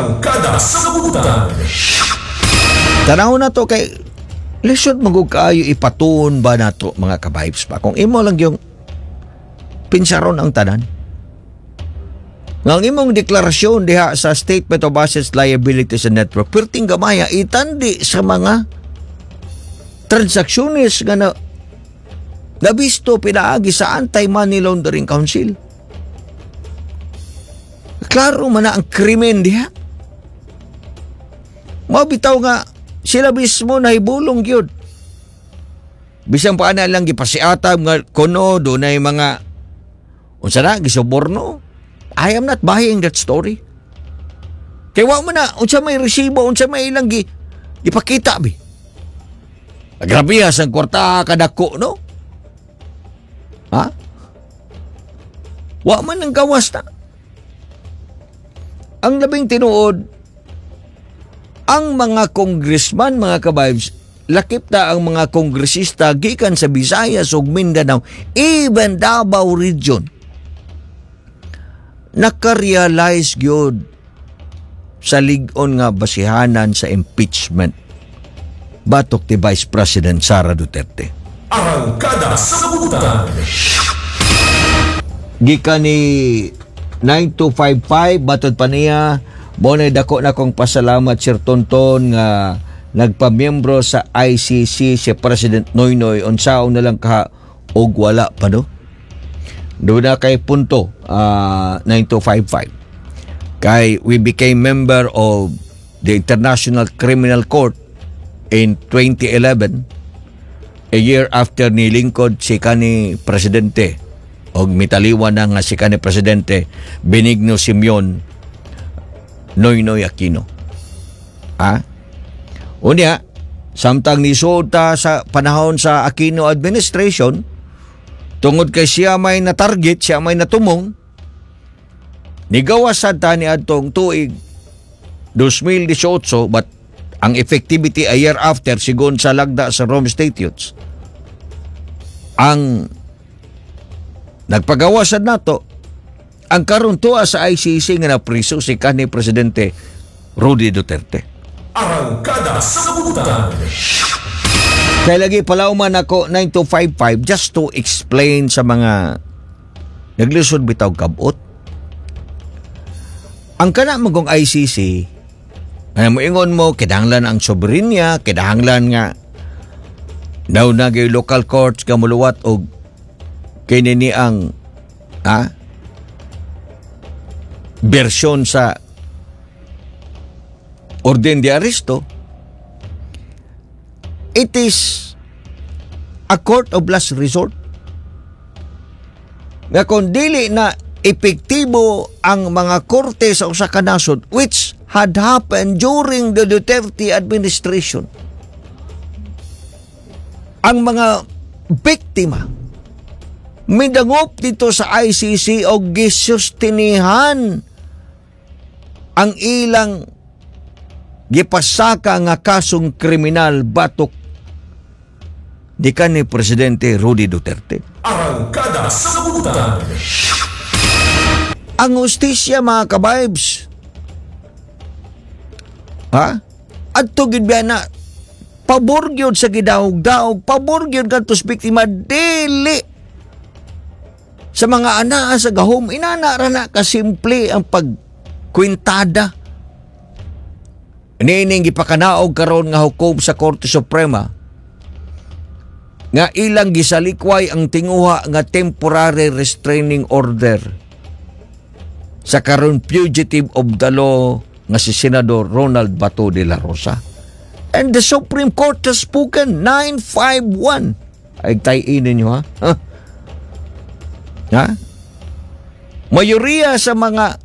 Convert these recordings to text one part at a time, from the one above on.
Arangkada sa Butan. Tanaw na to kay lisod magug kaayo ipatuon ba nato, mga ka-vibes pa, kung imo lang yung pinsaron ang tanan. Nga ang imong deklarasyon diha sa Statement of Assets, Liabilities and Net Worth, perting gamaya itandi sa mga transaksyones nga na nabisto pinaagi sa Anti-Money Laundering Council. Klaro man na ang krimen diha. Mabitaw nga sila mismo nahibulong gyud. Bisan pa na lang gipasiatab nga kuno dunay mga unsa na gisuborno. I am not buying that story. Kay wa man na unsa may resibo, unsa may ilang gipakita bi. Grabe sa kwarta kadako, no? Ha? Wa man ang gawas na. Ang labing tinuod, ang mga congressman, mga ka-vibes, lakip na ang mga kongresista gikan sa Visayas ug Mindanao, even Davao Region, nakarealize gyud sa lig-on nga basihanan sa impeachment batok ni Vice President Sara Duterte. Arangkada sa Butan. Gikan ni 9255, batod pa niya, mo dako na kong pasalamat, Sir Tonton, nga nagpamiyembro sa ICC si President Noynoy, unsaon na lang ka og wala pa, no? Doon na kay punto, 9255, kay we became member of the International Criminal Court in 2011, a year after ni lingkod si kani presidente og mitaliwan na nga si kani Presidente Benigno Simeon Noynoy Aquino. Ha? Unya, samtang nisuod ta sa panahon sa Aquino administration, tungod kay siya may na-target, siya may natumong, nigawas sad ta ni adtong tuig 2018, but ang effectivity a year after sigon sa lagda sa Rome Statutes. Ang nagpagawas sad nato ang karon tuwa sa ICC nga napriso si kanhi Presidente Rody Duterte. Arangkada sa Butan. Kaya lagi palauman ako, 9255, just to explain sa mga naglisod bitaw kabot. Ang kana magong ICC, ay mo ingon mo, kinahanglan ang soberenya, kinahanglan nga daw na local courts ka muluwat og kini ni ang bersyon sa orden de arresto. It is a court of last resort. Nga kung dili na epektibo ang mga korte sa usa ka nasod, which had happened during the Duterte administration. Ang mga biktima midangop dito sa ICC o gisustinihan ang ilang gipasaka nga kasong kriminal batok di ni Presidente Rody Duterte. Arangkada sa Butan. Ang hustisya, mga ka-vibes. Ha? Adto gid biya na pabor gyud sa gidaog-daog, pabor gyud kadto sa biktima, dili sa mga anaa sa gahom. Inana ra na kasimple ang pagkwintada. Niining gipakanaog karon nga hukom sa Korte Suprema nga ilang gisalikway ang tinguha nga temporary restraining order sa karon fugitive of the law nga si Senador Ronald Bato de la Rosa. And the Supreme Court has spoken, 951. Ay tayin ninyo, ha? Ha? Ha? Mayoriya sa mga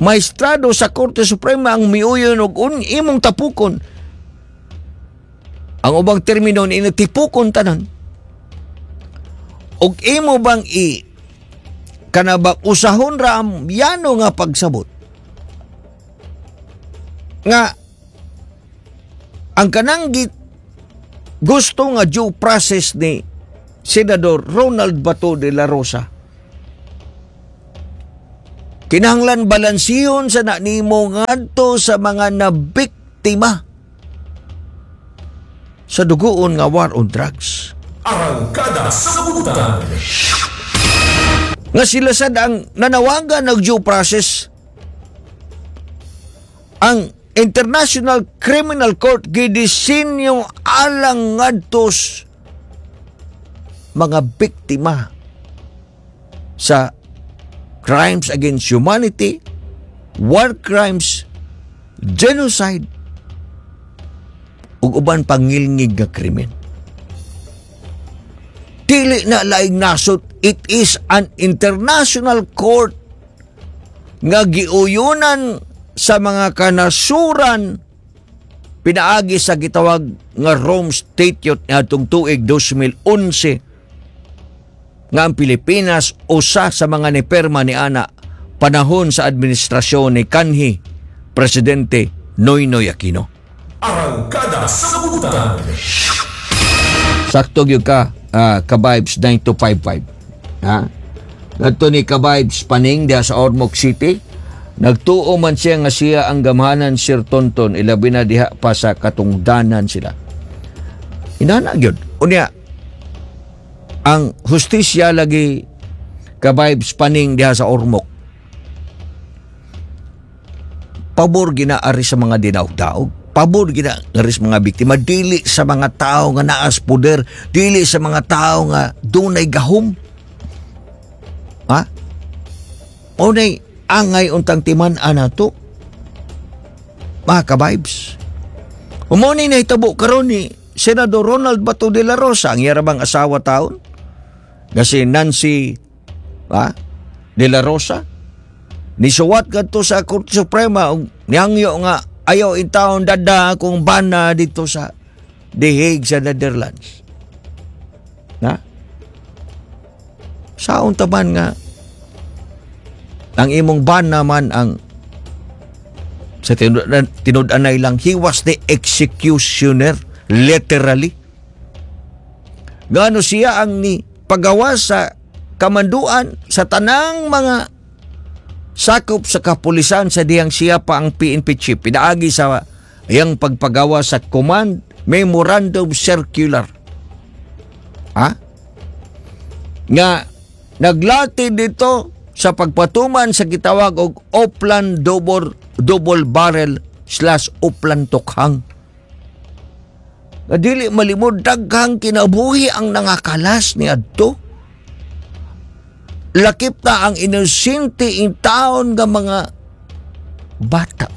maestrado sa Korte Suprema ang miuyon og imong tapukon. Ang ubang termino ni tipukon tanan. Og imo bang i kana ba usahon ra ang yano nga pagsabot nga ang kanang gusto nga due process ni Senador Ronald Bato de la Rosa? Kinahanglan balansihon sa na nimo ngadto sa mga nabiktima sa dugoon nga war on drugs. Arangkada sa Butan. Nga sila sad ang nanawagan ng due process. Ang International Criminal Court gidisenyo alang ngadto mga biktima sa crimes against humanity, war crimes, genocide, ug uban pangilngig nga krimen. Dili na laing nasod, it is an international court nga giuyunan sa mga kanasuran pinaagi sa gitawag nga Rome Statute ngadtong tuig 2011, nga ang Pilipinas usa sa mga nipirma ni ana panahon sa administrasyon ni kanhi Presidente Noynoy Aquino. Arangkada sa Butan. Sakto gyud ka, Ka-Vibes 9255. Ha? Ngadto ni Ka-Vibes Paning diha sa Ormoc City. Nagtuo man siya nga siya ang gamhanan, Sir Tonton, ilabi na diha pa sa katungdanan sila. Inana gyud. Unya, ang hustisya lagi, Ka-Vibes Paning diha sa Ormoc. Pabor ginaari sa mga dinaog-daog. Pabor ginaari sa mga biktima. Dili sa mga tao nga naas poder. Dili sa mga tao nga dunay gahom. Ha? Unay, angay untang timan-an nato, mga ka-vibes. Mao ni nahitabo karon ni Senador Ronald Bato de la Rosa, ang yarabang asawa taon, nga si Nancy, ha, de la Rosa, nisuwat kadto sa Korte Suprema ug nihangyo nga ayaw intawon dada akong bana dito sa The Hague sa Netherlands. Na? Saon taman nga ang imong bana man ang sa tinud-anay lang, he was the executioner, literally. Gano siya ang ni pagawa sa kamanduan sa tanang mga sakop sa kapulisan sa dihang siya pa ang PNP chief pinaagi sa iyang pagpagawa sa Command Memorandum Circular. Ha? Nga naglati dito sa pagpatuman sa gitawag og Oplan Double, Double Barrel/Oplan Tokhang. Nga dili malimod, daghang kinabuhi ang nangakalas ni adto. Lakip na ang inosente in taon nga mga bata.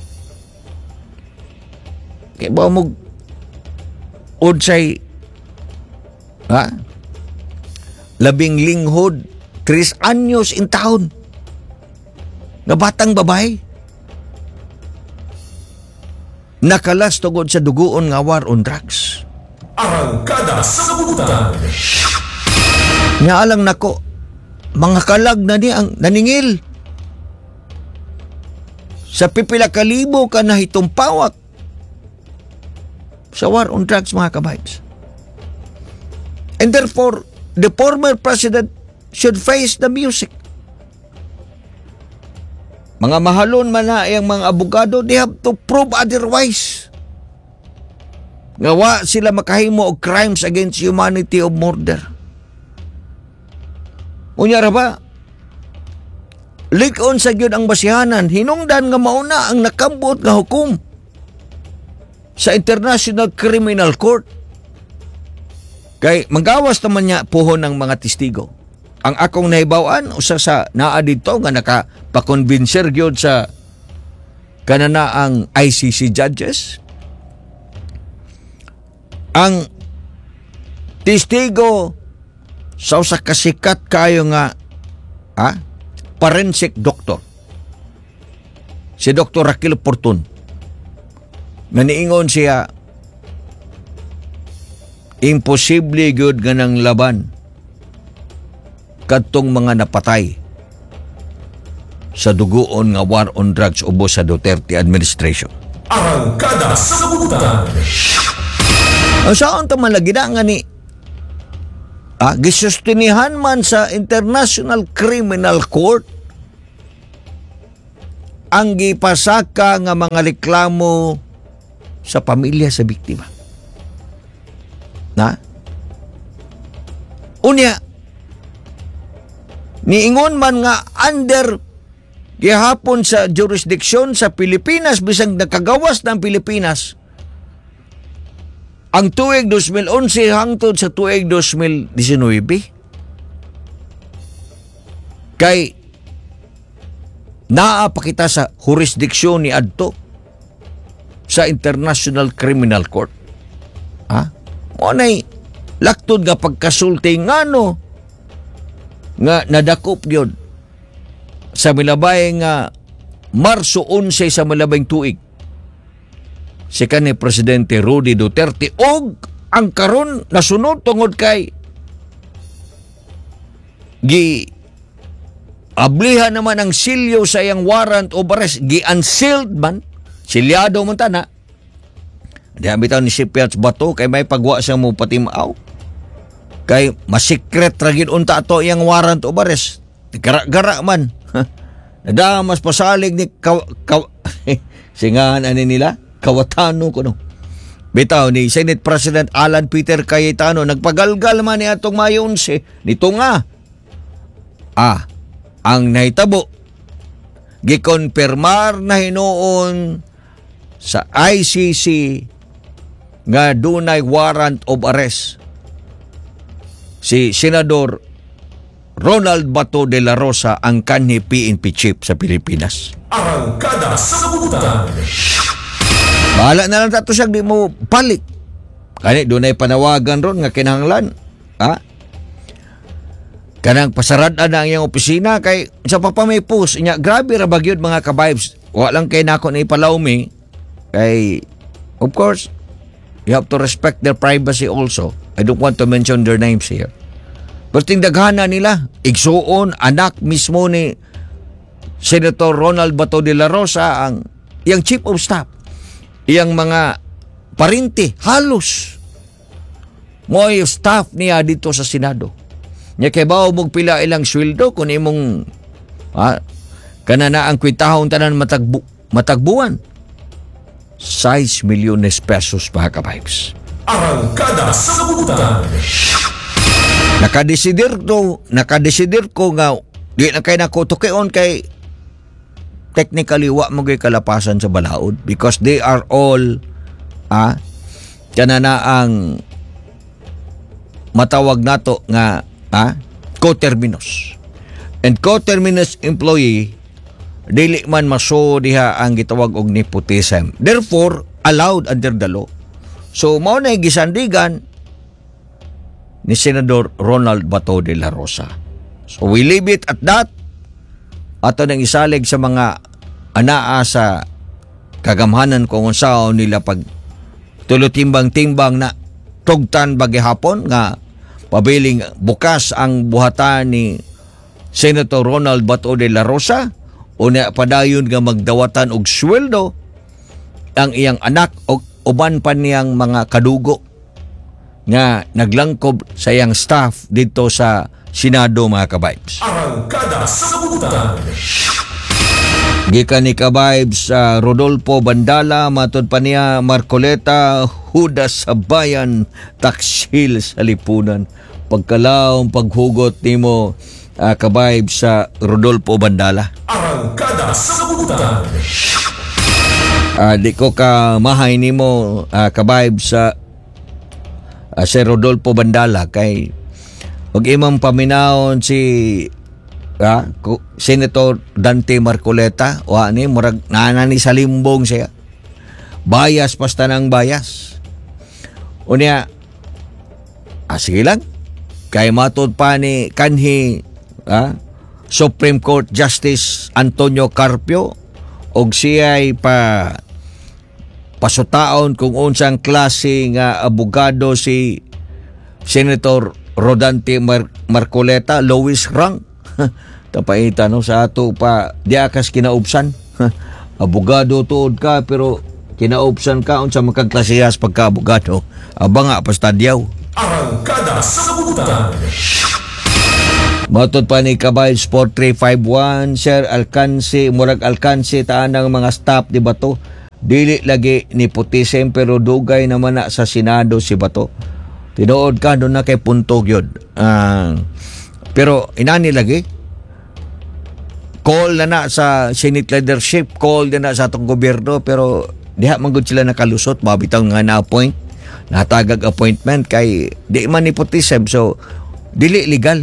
Kaya ba mo unsay, ha? Labing linghod, 3 anyos in taon nga batang babae nakalas tungod sa dugoon nga war on drugs. Arangkada sa Butan. Nga alang nako, mga kalag na ni ang naningil sa pipila kalibo ka na pawak sa war on drugs, mga ka-vibes. And therefore, the former president should face the music. Mga mahalon man na ang mga abogado, they have to prove otherwise. Nga wa sila makahimo og crimes against humanity of murder. Unya ra ba? Lik-on sa gyud ang basihanan, hinungdan nga mauna ang nakambot nga hukom sa International Criminal Court. Kay manggawas naman niya puhon ng mga testigo. Ang akong nahibaw-an, usa sa naa didto nga nakapakonbinser gyud sa kanana ang ICC judges. Ang testigo sa usa ka sikat kayo nga, ha, forensic doctor, si Dr. Raquel Portun, nga niingon siya imposible gyud nga nang laban kadtong mga napatay sa dugoon nga war on drugs ubos sa Duterte administration. Arangkada sa Butan. Ang saan ta man lagi na nga ni gisustinihan man sa International Criminal Court. ang gipasaka nga mga reklamo sa pamilya sa biktima. Na? Unya, niingon man nga under gihapon sa jurisdiction sa Pilipinas bisag nakagawas ng Pilipinas ang tuig 2011 hangtod sa tuig 2019, kay naa pa kita sa jurisdiksyon ni adto sa International Criminal Court. Ha? Mao nay laktod nga pagkasulti ngano nga nadakop gyud sa milabay nga Marso 11 sa milabay tuig si kanhi Presidente Rody Duterte, og ang karon nasunod tungod kay gi ablihan naman ang silyo sa iyang warrant of arrest, gi-unsealed man, silyado man tana. Di bitaw ni si Piats Bato kay may pagwa siya mo patimaw kay masikret ra gid unta ato iyang warrant of arrest. Gara-gara man nadamas pasalig ni ka, ka, singahan ani nila kawatano kuno bitaw ni Senate President Alan Peter Cayetano. Nagpagalgal man ni atong Mayo 11 nito nga ang nahitabo, gikonfirmar na hinuon sa ICC nga dunay warrant of arrest si Senador Ronald Bato de la Rosa, ang kanhi PNP chief sa Pilipinas. Arangkada sa Kabutan. Bahala na lang tato siya, di mo balik. Kani dunay panawagan ron nga kinahanglan. Ha? Kanang pasarad na ang iyang opisina kay sa pa may post nya, grabe ra ba gyud, mga ka-vibes. Wa lang kay nako na ipalawmi kay of course you have to respect their privacy also. I don't want to mention their names here. Pero daghanan nila, igsuon, anak mismo ni Senator Ronald Bato de la Rosa, ang iyang chief of staff, iyang mga parinti, halos mo'y staff niya dito sa Senado. Nya kay bawo mong pila ilang sweldo kung imong kana na ang kwitahon tanan matagbuan. 6 milyones pesos, mga ka-vibes. Arangkada sa Kabutan. Nakadesidir ko nga di na kay nako tukion kay technically wa mo gyud kalapasan sa balaod because they are all kana na ang matawag nato nga coterminous. And coterminous employee, dili man maso diha ang gitawag og nepotism. Therefore, allowed under the law. So mao na gisandigan ni Senador Ronald Bato de la Rosa. So we leave it at that. Ato nang isalig sa mga anaa sa kagamhanan kung unsaon nila pag tulo timbang-timbang na tugtan ba gihapon nga pabiling bukas ang buhatan ni Senator Ronald Bato de la Rosa o na padayon nga magdawatan og sweldo ang iyang anak o uban pa niyang mga kadugo nga naglangkob sa iyang staff dito sa Senado, mga ka-vibes. Arangkada sa Kabutan. Gikan ni ka-vibes sa Rodolfo Bandala, matod pa niya Marcoleta, Hudas sa bayan, taksil sa lipunan. Pagkalawom paghugot nimo, ka-vibes sa Rodolfo Bandala. Arangkada sa Kabutan. Di ko ka mahay nimo, ka-vibes sa si Rodolfo Bandala, kay ug imong paminawon si Senator Dante Marcoleta, wa ni murag naa ni sa limbong siya. Bias pasta ng bias. Unya, sige lang. Kay matod pa ni kanhi Supreme Court Justice Antonio Carpio og siya'y pa pasutaon kung unsang klase nga abogado si Senator Rodante Marcoleta, lowest rank. Tapaita no sa ato pa diha kas kinaubsan. Abogado tuod ka pero kinaubsan ka unsa makagklasehas pagka abogado. Aba nga pastadyaw. Arangkada sa Kabutan. Matod pa ni Kabay 4351, Sir alkansi, murag alkansi taan ng mga staff ni Bato. Dili lagi nepotism pero dugay naman na sa Senado si Bato. Tinuod ka doon na kay punto gyud. Pero inani lagi call na na sa Senate leadership, call na na sa atong gobyerno, pero diha man gud sila nakalusot, mabitaw nga na-appoint, natagag appointment kay di man nepotism, so dili legal.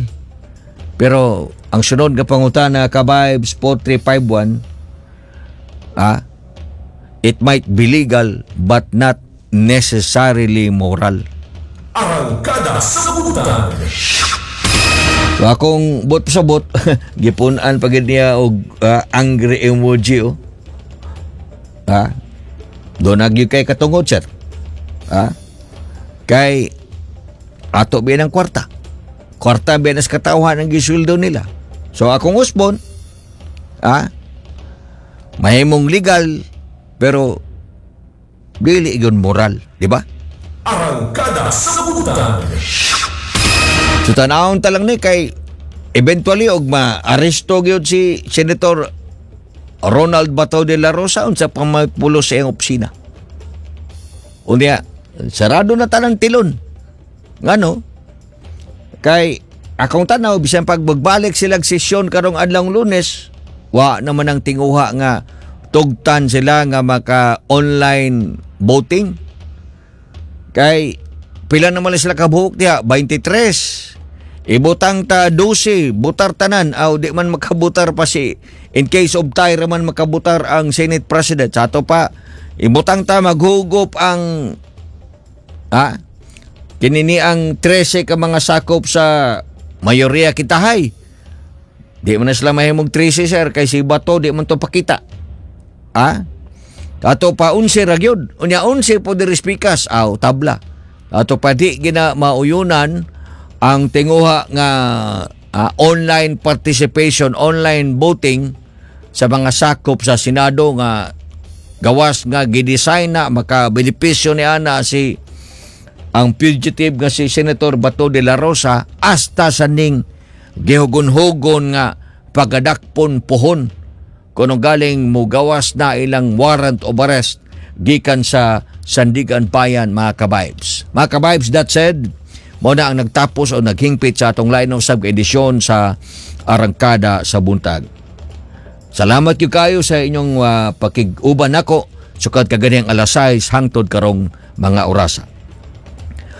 Pero ang sunod nga pangutana, Kabibes 4351, it might be legal but not necessarily moral. Arangkada sa Buntag. So akong bot sa bot, gipunan pa gid niya og angry emoji, oh. Ha? Doon nagyud kay katungod, sir. Ha? Kay ato biya ng kwarta. Kwarta biya nas katawhan ang gisweldo nila. So akong usbon, ha? Mahimong legal pero dili gyud moral, di ba? Arangkada sa Buntag. So tanawon ta lang ni kay eventually og ma-aresto gyud si Senator Ronald Bato de la Rosa, unsa pa may pulos sa iyang opisina. Unya, sarado na tanang tilon. Ngano? Kay akong tanaw, bisan pag magbalik silang sesyon karong adlawng Lunes, wa naman ang tinguha nga tugtan sila nga maka online voting. Kay pila naman lang sila kabuhok diha? 23. Ibutang ta 12, butar tanan, aw di man makabutar pa si, in case of tie man makabutar ang Senate President. Sa ato pa, ibutang ta maghugop ang kinini ang 13 ka mga sakop sa mayoriya kitahay. Di man na sila mahimong 13, sir, kay si Bato di man to pakita. Ato pa 11 ra gyud. Unya 11 po diri speakers, aw tabla. Ato pa di gina mauyunan ang tinguha nga online participation, online voting sa mga sakop sa Senado nga gawas nga gidesign na makabenepisyo ni ana si ang fugitive nga si Senator Bato de la Rosa, hasta sa ning gihugon-hugon nga pagadakpon pohon kuno galing mugawas na ilang warrant of arrest gikan sa Sandiganbayan, mga kabibes. Mga kabibes, that said, mo na ang nagtapos o naghingpit sa atong line of sub edisyon sa Arangkada sa Buntag. Salamat gyud kayo sa inyong pakig-uban nako sukad kaganihang alas 6 hangtod karong mga orasa.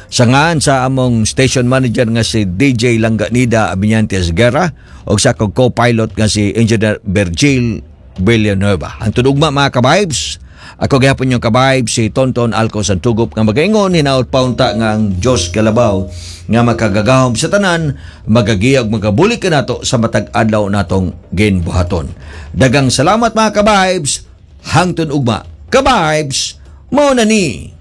Sa ngaan sa among station manager nga si DJ Langganida Abinyantes Guerra ug sa akong co-pilot nga si Engineer Virgil Villanueva. Hangtod ugma, mga kabibes, ako gihapon yung kabibes si Tonton Alco Santugop nga magaingon hinaut paunta nga ang Diyos kalabaw nga makagagahom sa tanan magagiyag magabulig kanato sa matag adlaw natong ginbuhaton. Dagang salamat, mga kabibes, hangtod ugma. Kabibes, mao na ni.